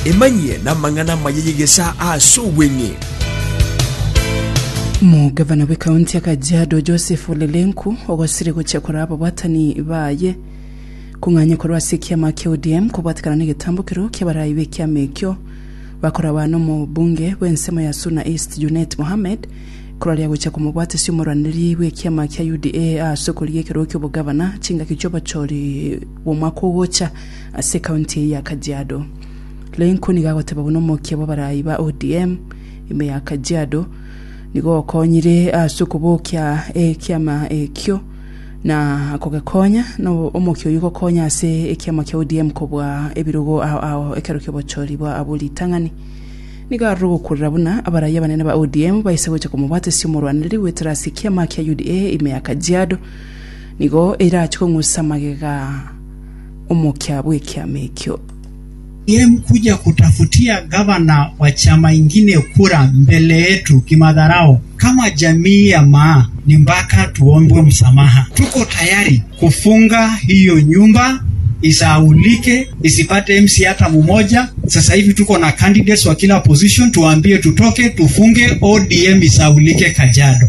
Emanyie namang'ana amaya y'egesaa ase obweng'e. Omogavana bw'ekaunti ya Kajiado Joseph Ole Lenku ogosire gochia koraa ababwatani baye kong'anya korwa ase ekiama kia ODM kobwatekana negetambokero ki'abarai b'ekiama ekio bakoragwa nomobunge bw'ensemo ya Suna East Junet Mohammed koraria gochia komobwatesia omorwaneri bw'ekiama kia UDA ase okorigia ekerogo ki'obogavana chingaki chi'obochori bw'omwaka ogocha ase ekaunti eye ya Kajiado. Lenku nigo agoteba buna omokia bw'abarai ba ODM ime ya Kajiado nigo okonyire ase okobokia ekiama ekio na kogekonya na omokia oyio gokonya ase ekiama kia ODM kobua ebirogo ao ao ekero ki'obochori bwa abwo ritang'ani. Nigo arure ogokurera buna abarai abanene ba ODM baise gocha komobwatesia omorwanereri goetera ase ekiama kia UDA ime ya Kajiado nigo erache kong'usa magega omokia bw'ekiama ekio. ODM kuja kutafutia gavana wa chama ingine kura mbele yetu kimadharau kama jamii ya Maa ni mpaka tuombwe msamaha. Tuko tayari kufunga hiyo nyumba isahaulike, isipate MC hata mmoja. Sasa hivi tuko na candidates wa kila position, tuwaambie tutoke, tufunge ODM isahaulike Kajiado.